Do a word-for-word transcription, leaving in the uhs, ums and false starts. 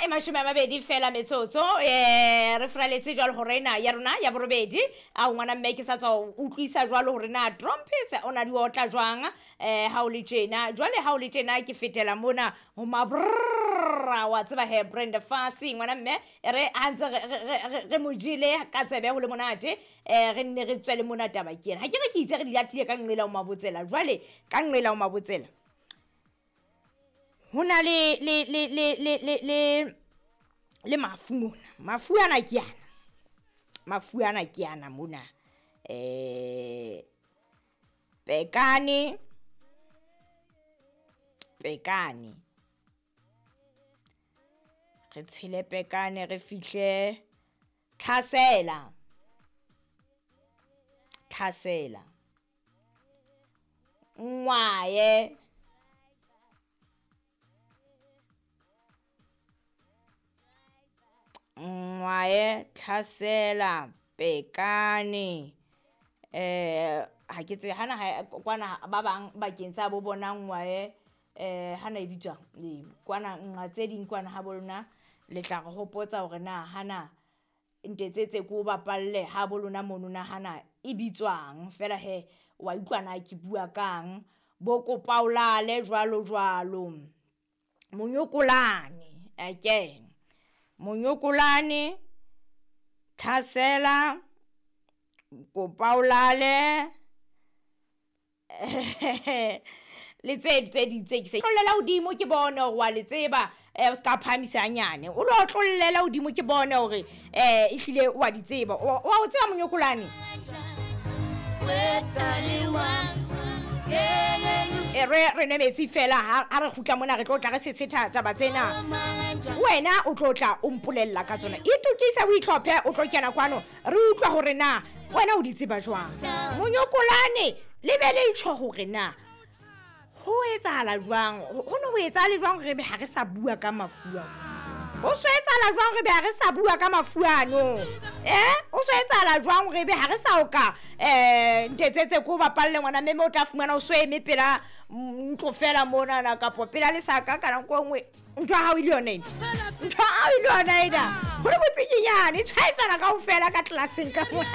e mashome a mabedi fela metsotso um re fraletse jwalo hore ena ya rona ya borobedi. A ngwana mme ke sa tswa o utlwisa jwalo hore na Trompies o na di otla jwang um ha o le tjena. Jwale ha o le tjena ke fetela mona ho mabrrra, wa tseba he Brenda Fassie ngwana mme e re ha ntse re mo jele ka tsebe ho le monate um re nne re tswele mona taba ke ena. Ha ke re ke itse re di latile ka nqela ho mabotsela, jwale ka nqela ho mabotsela ho na le le le le le le le le mafu mona. Mafu ana ke ana, mafu ana ke ana mona eh pekane pekane re tshele pekane re fihle tlhasela tlhasela ngwaye ngwaye tlhasela pekane eh ha ke tsebe hana ha kwana ba bang bakeng tsa bo bona ngwaye eh hana e bitswang e kwana nqa tse ding kwana ha bo lona le tla re hopotsa hore na hana ntetsetse ko bapalle ha bo lona mono na hana e bitswang fela he wa utlwa na ke bua kang bo kopaolale jwalo jwalo monyokolane again monyokolane tlhasela kopaolale le tse tse ding tse ke se tlollela hodimo ke bone hore wa le tseba eh o ska phahamisa hanyane o lo tlollela hodimo ke bone hore eh ehlile wa di tseba wa o tseba monyokolane e re re nwe metsi fela ha re kgutla mona re tlo tla re setshetha taba tsena wena o tlo tla o mpolella ka tsona. Itokise o itlhophe o tlo kena kwano re utlwa hore na wena o di tseba jwang monyokolane le be le tjho hore na ho etsahala jwang ho no ho etsahala jwang re be ha re sa bua ka mafu a ho so etsahala jwang re be ha re sa bua ka mafu ano eh o so etsahala jwang re be ha re sa oka eh ntetsetse ko bapalle ngwana mme o tla fumana o so eme pela ntlo fela mona na kapo pela le saka ka nako nngwe ntho ha o ile yona ena ntho ha o ile yona ena ho le botsikinyane tshwaetsana kaofela ka tlelaseng ka mona.